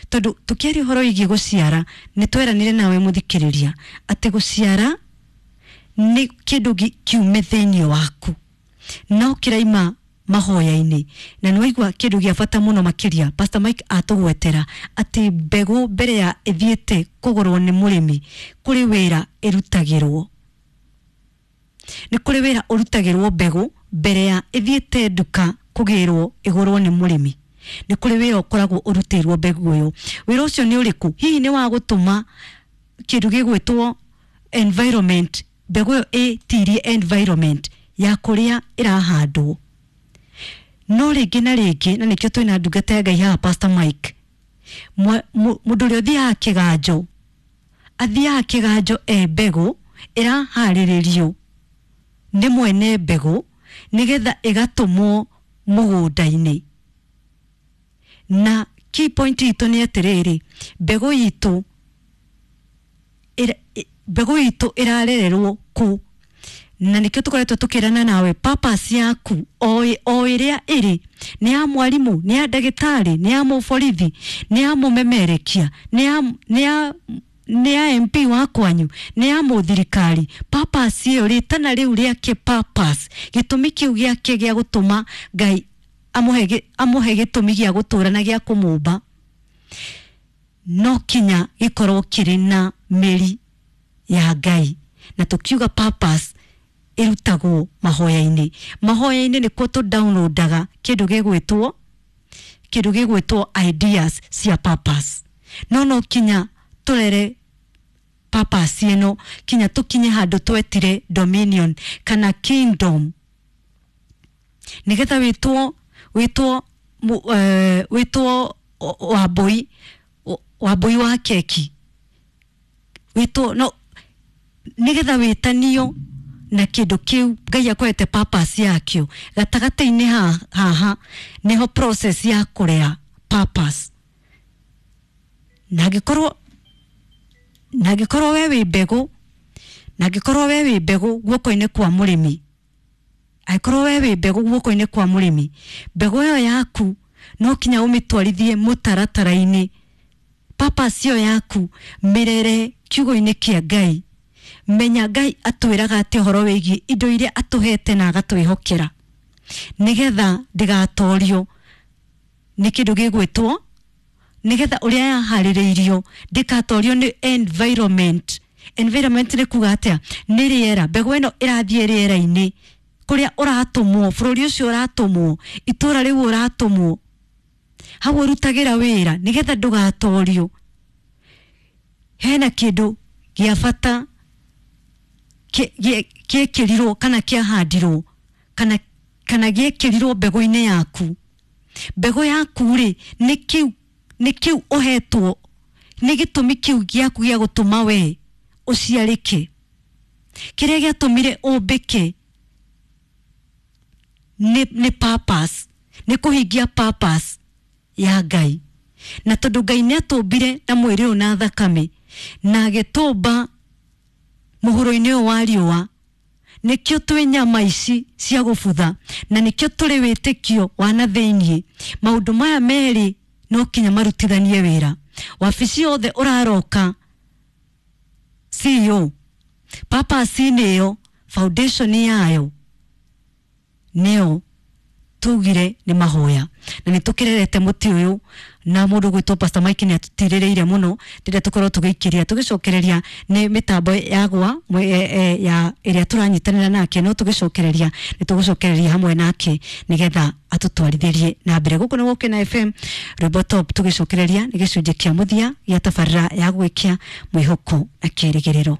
Tondũ tũkĩaria ũhoro wĩgiĩ gũciara, nĩ tweranire nawe mũthikĩrĩria atĩ gũciara nĩ kĩndũ kiume thĩinĩ waku, no kĩraima mahoya-inĩ. Na nĩ waigua kĩndũ gĩa bata mũno makĩria Pastor Mike atũgwetera atĩ mbegũ mbere ya ĩthiĩte kũgũrwo nĩ mũrĩmi, kũrĩ wĩra ĩrutagĩrwo. Nĩ kũrĩ wĩra ũrutagĩrwo mbegũ mbere ya ĩthiĩte nduka kũgĩrwo ĩgũrwo nĩ mũrĩmi. Nĩ kũrĩ wĩra ũkoragwo ũrutĩirwo mbegũ ĩyo. Wĩra ũcio nĩ ũrĩkũ? Hihi nĩ wa gũtũma kĩndũ gĩgwĩtwo environment, mbegũ ĩyo ĩtirie environment ya kũrĩa ĩrahandwo. No rĩngĩ na rĩngĩ, na nĩkĩo twĩna ndungata ya Ngai haha Pastor Mike, mũndũ ũrĩa ũthiaga kĩganjo, athiaga kĩganjo e mbegũ ĩraharĩrĩrio nĩ mwene mbegũ nĩgetha ĩgatũmwo mũgũnda-inĩ. Na key point itũ nĩ atĩrĩrĩ, mbegũ itũ mbegũ itũ ĩrarererwo kũ? Na nĩkĩo tũkoretwo tũkĩrana nawe purpose yaku o ĩrĩa ĩrĩ, nĩ ya mwarimũ, nĩ ya ndagĩtarĩ, nĩ ya mũborithi, nĩ ya mũmemerekia, nĩ ya MP wa kwanyu, nĩ ya mũthirikari. Purpose ĩyo, rĩtana rĩu rĩake purpose, gĩtũmi kĩu gĩake gĩa gũtũma Ngai amũhe gĩtũmi gĩa gũtũra na gĩa kũmũmba, no kinya gĩkorwo kĩrĩ na mĩri ya Ngai. Na tũkiuga purpose ĩrutagwo mahoya-inĩ. Mahoya-inĩ nĩkuo tũ downloadaga kĩndũ gĩgwĩtwo ideas cia purpose. No no kinya tũrere purpose ĩno, kinya tũkinye handũ twetire dominion kana kingdom, nĩgetha wĩtwo wambui wa keki, wĩtwo no nĩgetha wĩtanio na kĩndũ kĩu Ngai akwete purpose yakĩo. Gatagatĩ-inĩ haha nĩho process ya kũrera purpose. Na angĩkorwo we wĩ mbegũ, na angĩkorwo we wĩ mbegũ guoko-inĩ kwa mũrĩmi, angĩkorwo we wĩ mbegũ guoko-inĩ kwa mũrĩmi, mbegũ ĩyo yaku no kinya ũmĩtwarithie mũtaratara-inĩ. Purpose ĩyo yaku mĩrere kiugo-inĩ kĩa Ngai. Menya Ngai atwĩraga atĩ ũhoro wĩgiĩ indo iria atũhete na agatwĩhokera, nĩgetha ndĩgatorio nĩ kĩndũ gĩgwĩtwo, nĩgetha ũrĩa yaharĩrĩirio ndĩkatorio nĩ environment. Environment nĩ kuga atĩa? Nĩ rĩera. Mbegũ ĩno ĩrathiĩ rĩera-inĩ kũrĩa ũratũmwo, bũrũri ũcio ũratũmwo, itũra rĩu ũratũmwo, hau ũrutagĩra wĩra, nĩgetha ndũgatorio. Hena kĩndũ gĩa bata gĩekĩrirwo kana kĩahandirwo kana gĩekĩrirwo mbegũ-inĩ yaku. Mbegũ yaku rĩ, nĩ kĩu ũhetwo, nĩ gĩtũmi kĩu gĩaku gĩa gũtũma we ũciarĩke. Kĩrĩa gĩatũmire ũmbĩke nĩ purpose, nĩ kũhingia purpose ya Ngai. Na tondũ Ngai nĩ atũmbire na mwĩrĩ ũyũ na thakame, na agĩtũmba mũhuro-inĩ ũyũ wa riũa, nĩkĩo twĩ nyama ici cia gũbutha, na nĩkĩo tũrĩ wĩtĩkio wa na thĩiniĩ. Maũndũ maya merĩ no kinya marutithanie wĩra. Wabici yothe ũraroka CEO, purpose-inĩ ĩyo, foundation yayo nĩyo tugire nĩ mahoya. Na nĩ tũkĩrerete mũtĩ ũyũ na mũndũ gwĩtwo Pastor Mike nĩ atũtirĩrĩire mũno, rĩrĩa tũkorwo tũgĩikĩria tũgĩcokereria nĩ mĩtambo ya gwa ya ĩrĩa tũranyitanĩra nake, no tũgĩcokereria nĩ tũgũcokereria hamwe nake nĩgetha atũtwarithĩrie na mbere. Gũkũ nĩ Gũkena FM, rwĩmbo top, tũgĩcokereria nĩ gĩcunjĩ kĩa mũthia gĩa tabarĩra ya gwĩkia mwĩhoko na kĩĩrĩgĩrĩro.